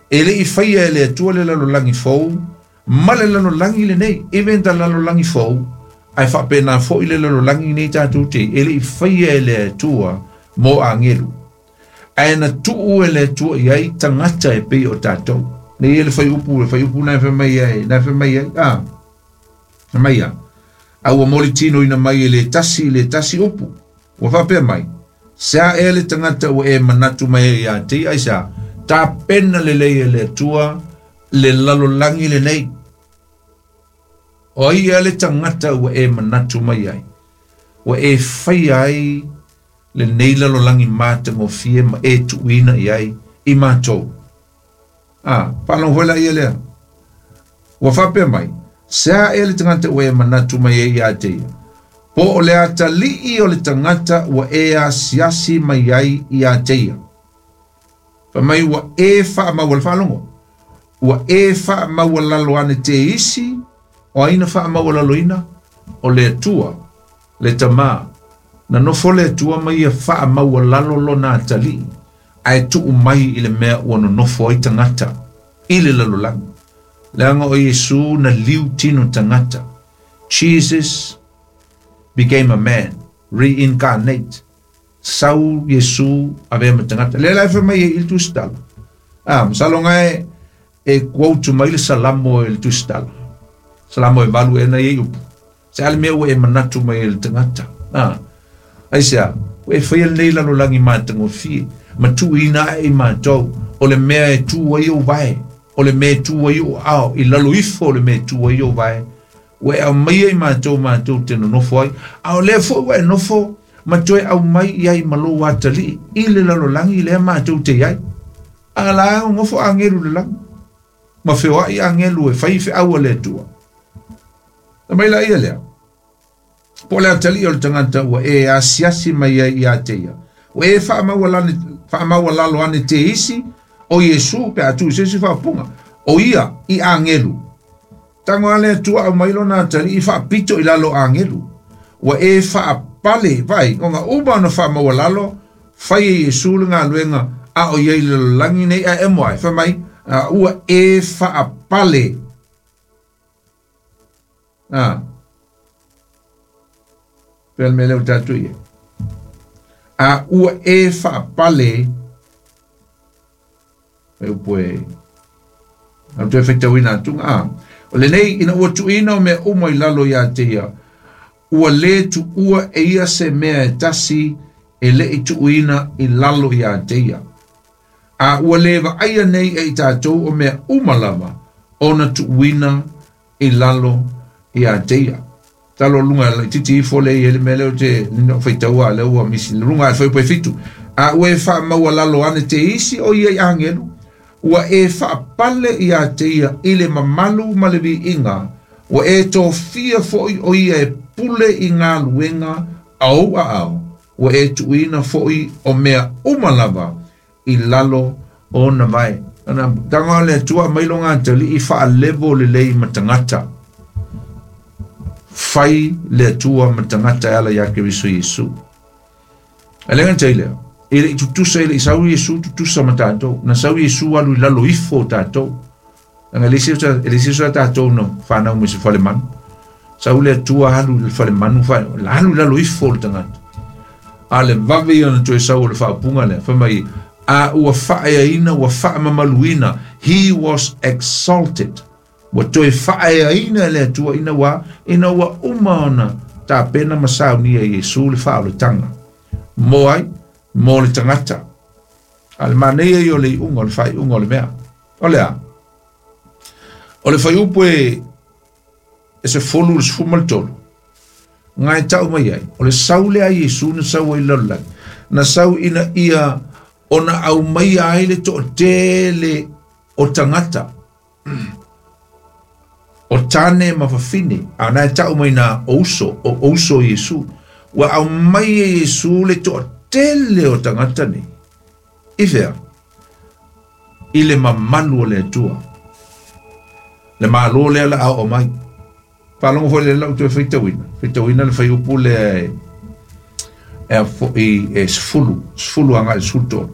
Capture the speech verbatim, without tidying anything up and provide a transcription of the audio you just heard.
E le i faia e le Atua le lalolagi fou ma le lalolagi lenei. Even ta lalolagi fou, ae faapena foʻi le lalolagi nei tatou te e le i faia e le Atua mo agelu. Ae na tuu e le Atua i ai tagata e pei o tatou. Nei e le faiupu, le faiupu na e mai ai, na e mai ai, a, mai a. A ua molitino ina mai e le tasi, le tasi upu. Ua faapea mai, se a e le tagata ua e manatu mai ai ia te ai sa, ta pena le lei e le Atua, le lalolagi lenei. O ai e le tagata ua e manatu mai ai. Ua e fai ai le nei lalolagi matagofie ma e tuuina i ai i matou. Ah, whalong hoela ia lea. Ua faapea mai, se a e le tagata ua e manatu mai ai ia te ia. Po o le atalii o le tagata ua e asiasi mai ai ia te ia. Fa mai ua e whaamaua le whaalongo. Ua e whaamaua lalo ane te isi, o aina whaamaua lalo ina, o le Atua, le tamā. Na nofo le Atua mai ia whaamaua lalo lona atalii, ae tuu mai i le mea ua nonofo ai tagata, i le lalolagi. Leaga o Iesu na liu tino tagata. Jesus became a man, reincarnate. Sau Iesu avea ma tagata. Le la e mai e il tusitala. Ah, masalo ngai e quote mai le salamo e le tusitala. Salamo e valu e na e upu. Se ale mea ua e manatu mai e le tagata. Ah, ai sea, ua e whaia nei lalolagi matagofie. Ma tuuina e matou. O le mea e tu ai o vae. O le mea e tu ai o ao. I lalo ifo o le mea e tu ai o vae. Ua e au mai ai matou matou te nonofo ai. A o lea foi ua e nofo ma toe au mai i ai malo atalii. I le lalolagi lea matou te iai. A la au ngofo angelu le lagi. Ma feoai angelu e whai wheaua le Atua. Na mai la ia lea. Po le atalii o le tagata ua e asiasi mai ai ia te ia. Ua e whaamaua lalo ane te isi o Iesu pe atu i sesi whaapunga. O ia i angelu. Tango ale Atua au mai lona atalii i whaapito i lalo angelu. Ua e whaapale vai. Ngonga uma na whaamaua lalo whai e Iesu le ngā luenga a o iei le lalolagi nei a e moai. Wha mai ua e whaapale. Ah. Pele me leo tatu ia. A ua e whaapale. E upu e. Au toe whaitauina atunga. Ah. O le nei ina ua tuuina o mea uma i lalo ia te ia. Ua le tuua e ia se mea e tasi e le i tuuina i lalo ia te ia. A ua le vaaia nei e i tātou o mea uma lava ona tuuina i lalo ia te ia. Talo lunga le titi ifo le i ele mea leo te nina whaitaua le ua misi lunga e whaipai fitu. A ua e whaamaua lalo ane te isi o ia i angelu. Ua e whaapale ia te ia i le mamalu ma le viinga. Ua e tōfia foi o ia e pule i ngā luenga au a au. Ua e tuuina foi o mea uma lava i lalo o na vai. Ana tanga le Atua mai longa atali i whaalevo le lei matangata. Whai le Atua matangata e ala ia Keriso Iesu. Alenga te lea. E le tutusa e le sau Iesu tutusa ma tātou. Na sau Iesu alu i lalo ifo tātou. Anga le sisa tātou no whanau me se whale manu. Sau le Atua alu i le whale manu. Alu i lalo ifo le tangata. A le vave ia na toe sau o le whaapunga lea. Wha mai, a ua whaeaina, ua whaamamaluina. He was exalted. Ua toe whaeaina le Atua ina ua, ina ua uma ona tā pena masau nia Iesu le whaoletanga. Mo ai, mo le tangata. A le manea i o le iunga, o le whaiunga o le mea. O lea. O le whaiupu e, e se folu le sefuma le tolu. Ngai tau mai ai. O le sau le a Iesu na sau ai lalolagi. Na sau ina ia ona au mai ai le to'atele o tagata. O tane ma fafine. A nai tau mai na ouso, o ouso Iesu. Ua au mai e Iesu le to'atele o tagata nei. I fea? I le mamalu o le Atua. Le malo lea la au o mai. Whalongo foi le lau toe whaitauina. Whaitauina le whaiupu le e, e, e sefulu. Sefulu anga e sefulu tolu.